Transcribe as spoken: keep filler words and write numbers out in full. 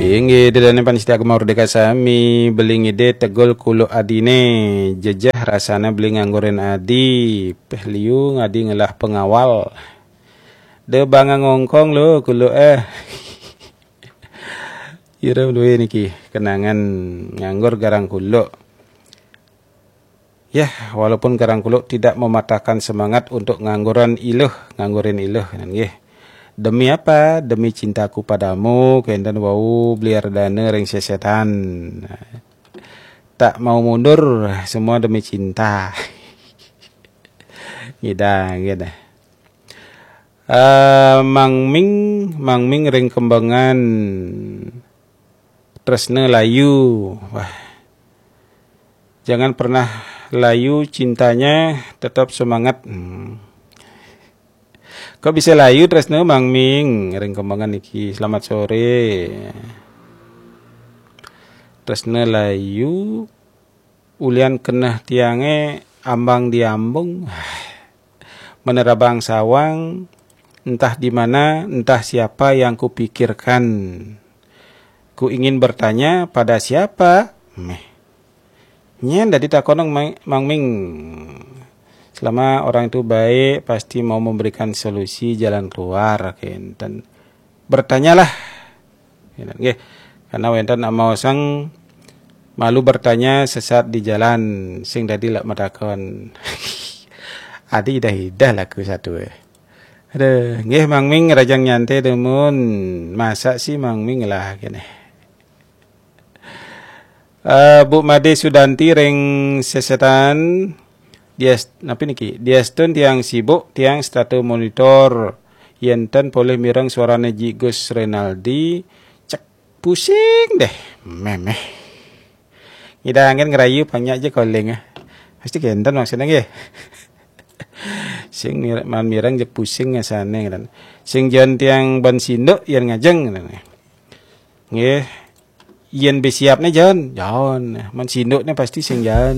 Inggih, ida dané pamiarsa Gema Merdeka sami, beli ngidih tegul kuluk adine, jejeh rasane beli nganggurin adi, peh liu ngadi ngelah pengawal. De bang ngongkong lo kuluk eh. Ira duwe niki kenangan nganggur garang kuluk. Ya, walaupun garang kuluk tidak mematahkan semangat untuk ngangguran iluh, nganggurin iluh, nggih. Demi apa? Demi cintaku padamu, kenten wau beli ardane ring sesetan. Tak mau mundur, semua demi cinta. Ngidang, gitu. Eh, Mang Ming, Mang Ming ring Kembangan, tresna layu. Wah. Jangan pernah layu cintanya, tetap semangat. Hmm. Kok bisa layu tresna, Mang Ming? Ring Kembangan niki. Selamat sore. Tresna layu, ulian keneh tiange ambang diambung. Menerabang sawang, entah di mana, entah siapa yang kupikirkan. Ku ingin bertanya pada siapa? Meh. Nyen dadi takonang Mang Ming. Selama orang itu baik, pasti mau memberikan solusi jalan keluar, kenten. Bertanyalah. Nggih. Karena wenten amaosang malu bertanya sesat di jalan, sing dadi lak matakon. Adi idah-idah laku satu eh. Aduh, nggih Mang Ming rajang nyantai demun. Masa sih Mang Ming lah kene. Eh, Bu Made Sudanti ring sesetan. Dias, napi niki? Diastun tiang sibuk, tiang setata monitor. Yenten polih mireng suarane Ji Gus Renaldi, cek pusing deh. Memeh. Ngidangin ngerayu panyak je koling ah. Pasti kenten maksudnya nggih. Sing mir- man mireng je pusing ngasane kan. Sing jan tiang ban sinduk yan ngajeng kan. Nggih. Yen besiapne jan, jan. Man sindukne pasti sing jan.